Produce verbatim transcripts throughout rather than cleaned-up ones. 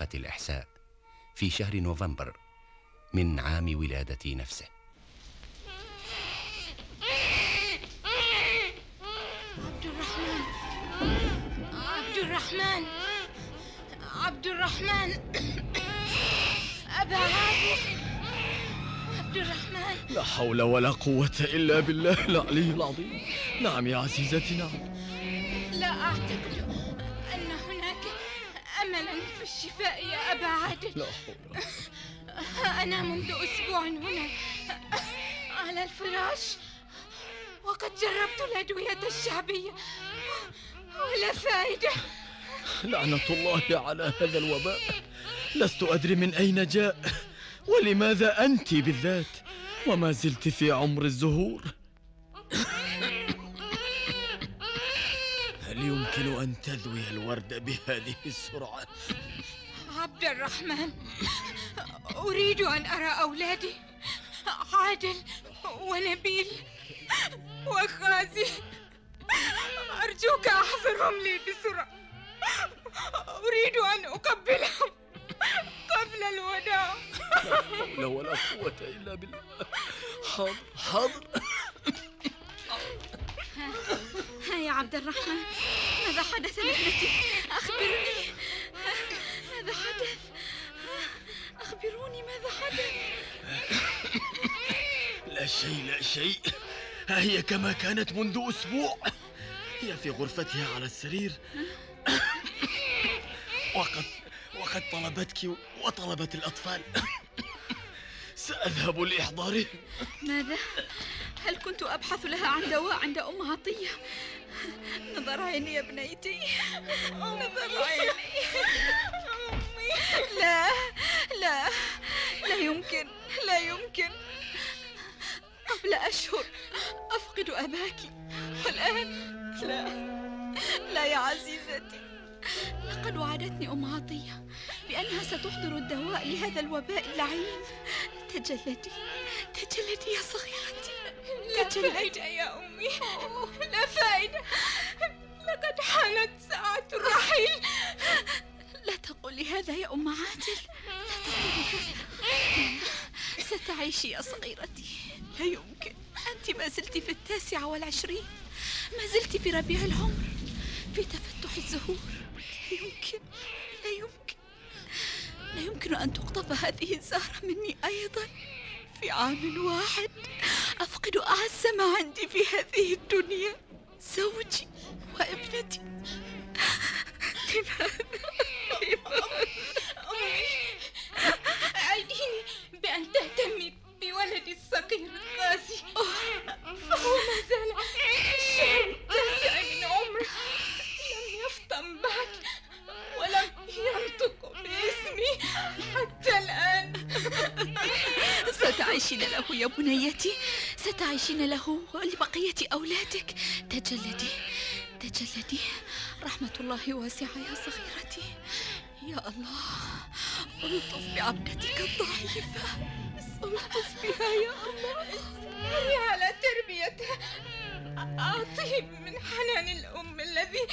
بطاقة الإحساء في شهر نوفمبر من عام ولادتي نفسه. عبد الرحمن عبد الرحمن عبد الرحمن أبا عادل. عبد الرحمن، لا حول ولا قوة إلا بالله العلي العظيم. نعم يا عزيزتي، نعم. لا أعتقد أن هناك أملا في الشفاء يا أبا عادل. لا حول. أنا منذ أسبوع هنا على الفراش، وقد جربت الأدوية الشعبية ولا فائدة. لعنة الله على هذا الوباء. لست أدري من أين جاء ولماذا أنت بالذات وما زلت في عمر الزهور. هل يمكن أن تذوي الورد بهذه السرعة؟ عبد الرحمن، أريد أن أرى أولادي عادل ونبيل وخازي. أرجوك أحضرهم لي بسرعة. أريد أن أقبلهم قبل الوداع. لا حول ولا قوة إلا بالله. حاضر حاضر. ها يا عبد الرحمن، ماذا حدث لابنتي؟ أخبرني، ماذا حدث؟ أخبروني ماذا حدث؟ لا شيء لا شيء، ها هي كما كانت منذ أسبوع. هي في غرفتها على السرير، وقد وقد طلبتك وطلبت الأطفال. سأذهب لإحضارهم. ماذا؟ هل كنت أبحث لها عن دواء عند أم عطية؟ نظر عيني يا بنيتي، نظر عيني. لا لا لا يمكن، لا يمكن. قبل أشهر أفقد أباك، والآن لا لا يا عزيزتي. لقد وعدتني أم عطية بأنها ستحضر الدواء لهذا الوباء اللعين. تجلدي تجلدي يا صغيرتي. لا فائدة يا أمي، لا فائدة. لقد حانت ساعة الرحيل. لا تقولي هذا يا أم عادل، لا تقولي هذا. ستعيشي يا صغيرتي. لا يمكن، أنت ما زلت في التاسعة والعشرين، ما زلت في ربيع العمر، في تفتح الزهور. لا يمكن، لا يمكن، لا يمكن أن تقطف هذه الزهرة مني أيضا في عام واحد. أفقد أعز ما عندي في هذه الدنيا، زوجي وابنتي. لماذا؟ لماذا؟ أمي، أعديني بأن تهتمي بولدي الصغير القاسي، فهو ما زال في الشهر التاسع من عمره، لم يفطن بعد ولم ينطق باسمي حتى الآن. ستعيشين له يا بنيتي، ستعيشين له ولبقية أولادك. تجلدي تجلدي، رحمة الله واسعة يا صغيرتي. يا الله، ألطف بعبدتك الضعيفة، ألطف بها يا الله. اسمعي على تربيتها، أعطيه من حنان الأم الذي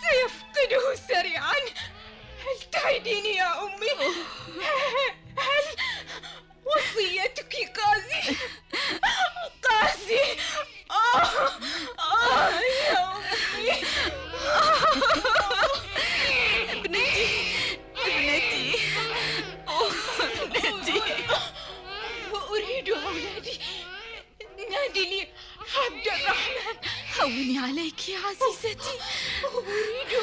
سيفقده سريعا. هل تعديني يا أمي؟ هل وصيتك قاسي؟ قاسي. آه آه يا أمي. ابنتي ابنتي ابنتي. وأريد أولادي. نادي لي عبد الرحمن. هوني عليك يا عزيزتي. أريد